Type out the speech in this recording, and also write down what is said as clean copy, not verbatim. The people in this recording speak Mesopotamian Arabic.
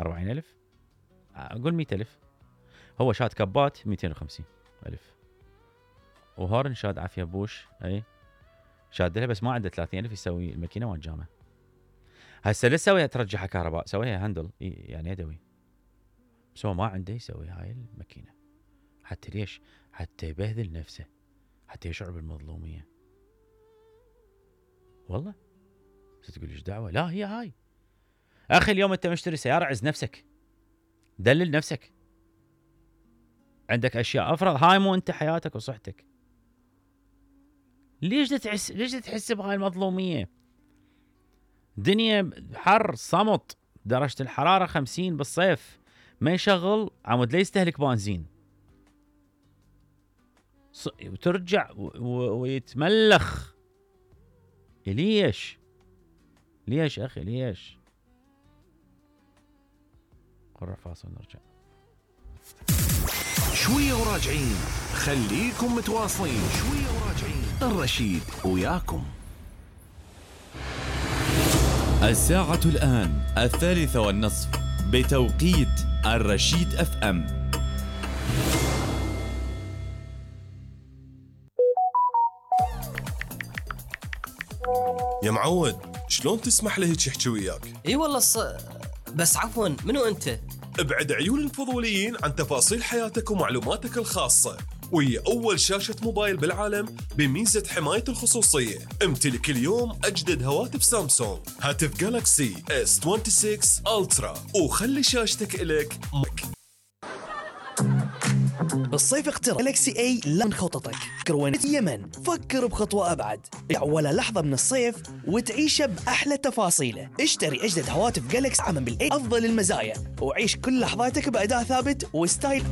40,000 اقول 100,000. هو شاد كبات 250,000 وهورن شاد عافية بوش اي شاد لها بس ما عنده 30,000 يسوي الماكينه وانجامه. هسه لا تسويها ترجعها كهرباء سويها هاندل يعني يدوي بس هو ما عنده يسوي هاي الماكينه. حتى ليش؟ حتى يبهذل نفسه حتى يشعر بالمظلوميه. والله تقول ايش دعوه؟ لا هي هاي اخي اليوم انت مشتري سياره عز نفسك دلل نفسك عندك اشياء افرض هاي مو انت حياتك وصحتك. ليش تحس بهاي المظلوميه؟ دنيا حر صمت درجه الحراره 50 بالصيف ما يشغل عمود لا يستهلك بنزين وترجع ويتملخ. ليش اخي ليش؟ قرر فاصل نرجع شويه وراجعين. خليكم متواصلين شويه وراجعين. الرشيد وياكم. الساعة الآن 3:30 بتوقيت الرشيد اف ام. يا معود شلون تسمح لي هيك يحكي وياك؟ اي والله بس عفوا منو انت؟ ابعد عيون الفضوليين عن تفاصيل حياتك ومعلوماتك الخاصة، وهي أول شاشة موبايل بالعالم بميزة حماية الخصوصية. امتلك اليوم أجدد هواتف سامسونج، هاتف جالاكسي S26 ألترا، وخلي شاشتك إلك بالصيف اختر جالاكسي اي لا من خططك. كروينة اليمن فكر بخطوة أبعد، ولا لحظة من الصيف وتعيشه بأحلى تفاصيله. اشتري أجدد هواتف جالاكسي عمل بالأي أفضل المزايا وعيش كل لحظاتك بأداء ثابت وستايل